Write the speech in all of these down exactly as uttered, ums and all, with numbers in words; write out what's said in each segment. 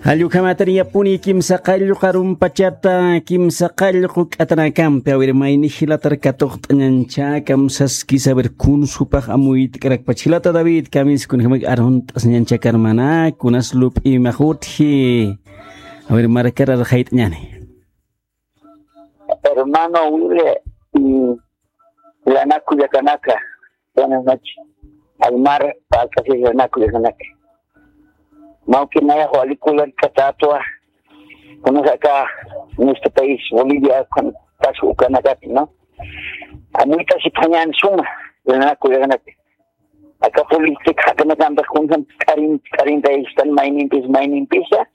Jallukhamatani yapuni kimsa qallqu arumpachata, kimsa qallqu k'atanakampi, a ver, mayni jilatar katuqt'añancha, kamsaskisa, a ver, kuns jupax amuyt'karakpach. Jilata David, kamis kunjamak arunt'asñancha karmana, kunas lup'imax utji. A ver, markarar jayt'añani. Hermano Willy, y Lanaku Yakanaka, buenas noches. Aymar, Paltas y Lanaku Yakanaka. Mauki nayax walikular katatwa, kunasaka en este país, Bolivia, con Pasco Ukanakati, ¿no? Amuyta si pañan suma, Lanaku Yakanaka. Aka política jakanakampi kunjam karin, karin da istan mainimpis, mainimpisa.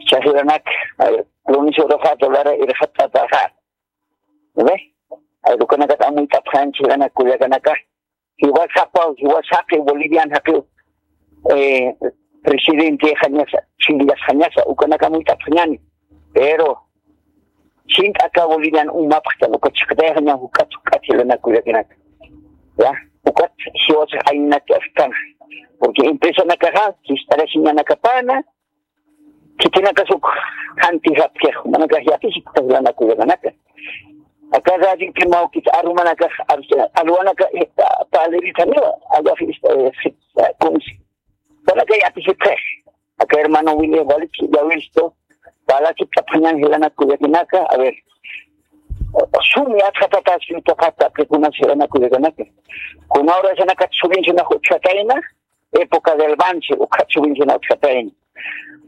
Chajiranak, lunes uraxa, dolara irxatataxa. ¿Ve? Ay, ukanakat amuyt'apxan chajiranak kullakanaka. Jiwas japaw, jiwas jaqi, Bolivian jaqi, eh, presidente jañasa, chillas jañasa, ukanaka amuyt'apxañani. Pero, sint aka Bolivian umapxtan, uka chiqtay jaña, ukat, ukat chajiranak kullakanaka. Ya, ukat jiwas aynak astan. Porque empresanakaxa, sist'arasiñanakapana, khitinakasuk janti japkix, manakax yatisikta Lanaku Yakanaka. Aka radiopi mawkit arumanakax, ar-, arumanaka, eh, paliritaniwa, alwax, eh, kunsi. Manaka yatisipxix. Aka hermano Willy, walik, ya visto, palakiptapxañan Lanaku Yakanaka, a ver. Sum yatxatatas, yutaqata, que kunas Lanaku Yakanaka. Kuna urasanaka subvencionax uchxatayna, época del Banzer, ukat subvencionax uchxatayna.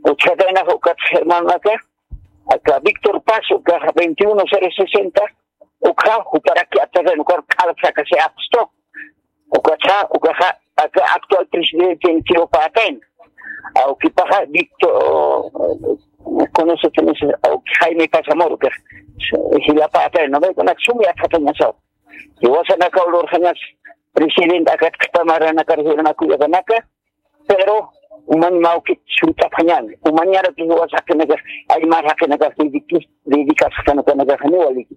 Uchxataynax ukat hermanaka, aka Víctor Paz, uka veintiuno cero sesenta, uka juparaki atakan, uka k'alpsakasi apsto. Ukaxa, ukaxa, aka actual presidente Tio Patayn. Awkipaxa Víctor, con ese, con ese, awki Jaime Paz Zamora, ukaxa, jila Patayn, ¿no ve? Kunak sum yatxatañasaw. Jiwasanaka ulurxañas presidente akat qhipa maranakar Lanaku Yakanaka, pero umañ mawkit sunt'apxañan, umañaraki jiwas jaqinakax, aymar jaqinakax dedicas, dedicas jaqinakanakarjani waliki.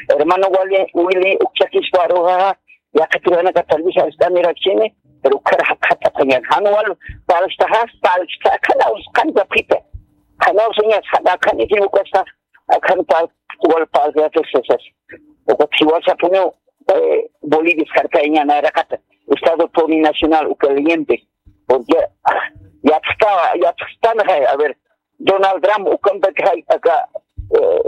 Hermano Willy, Willy, ukchakispa aruxa, yaqhatiranaka tal vez arst'anirakchini, pero ukhar jaqhatapxañan. Jan wal palstaxa, palsta, qhanaw, qhan kapita. Qhanaw señas, qhan, qhan equivocasta, Akhan pal, wal palkayatix sasas. Ukat jiwasapuniw, eh, Bolivia sarkaña nayraqata. Estado plurinacional uka leyente. Porque, ah, yatxta, yatxtanxay, a ver, Donald Trump ukampa kay, aka, eh,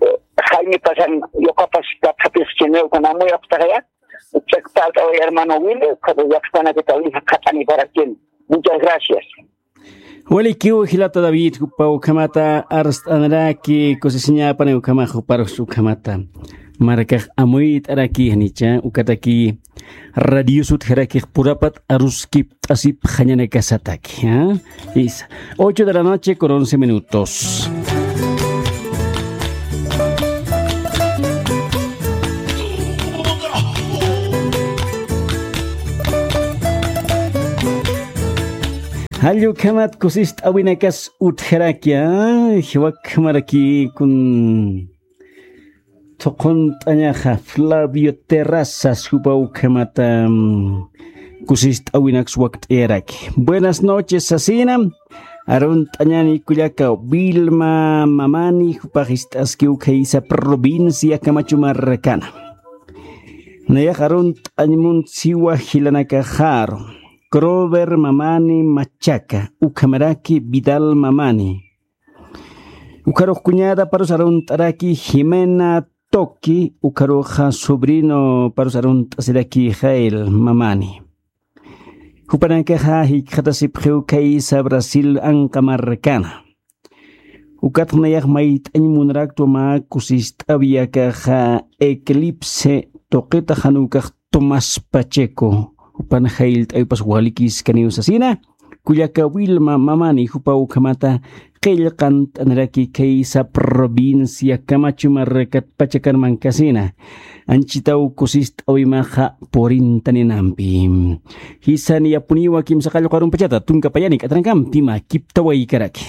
eh, Jaime Pasan, yokapas, katxapis, chine, ukan amuyapxtaxaya. Chak palta, hermano Willy, ukat yatxtanakata, ukan jaqatani para quien. Muchas gracias. Walikiw jilata David, jupa ukhamata arst'anaraki, kusisiñapani ukhama juparus ukhamata. Markax amuyt'araki janicha, ukataki radio sutjarakix purapat aruskipt'asipxañanakasataki, ¿ah? Isa. Ocho de la noche con once minutos. Jall ukhamat kusist'awinakas utjarakya, jiwakhamaraki kun thuqunt'añaxa Flavio Terrazas jupa ukhamata, mm, kusist'awinaks wakt'ayaraki. Buenas noches, sasina. Arunt'añani kullaka Vilma Mamani, jupax ist'aski ukhaysa provincia Camacho markana. Nayax arunt'añ munsiwa jilanakaxaru. Crover Mamani Machaca, ukhamaraki Vidal Mamani. Ukharux cuñada parus arunt'araki Jimena Toki, ukharuxa sobrino parus arunt'asiraki Jael Mamani. Jupanakaxa jikxatasipxiw khaysa Brasil anqa markana. Ukat nayax mayt'añ munaraktwa mä kusist'awi akaxa Eclipse tuqita jan ukax Tomás Pacheco. Jupan jayllt'awipas walikiskaniw sasina. Kullaka Wilma Mamani jupa ukhamata qillqant'aniraki khaysa provincia Camacho markat Pachacan mankasina. Anchitaw kusist'awimaxa purintaninampi. Jisan yapuniwa kimsa qallqu arumpachata tunka payani k'atrankampi mä kiptawaykaraki.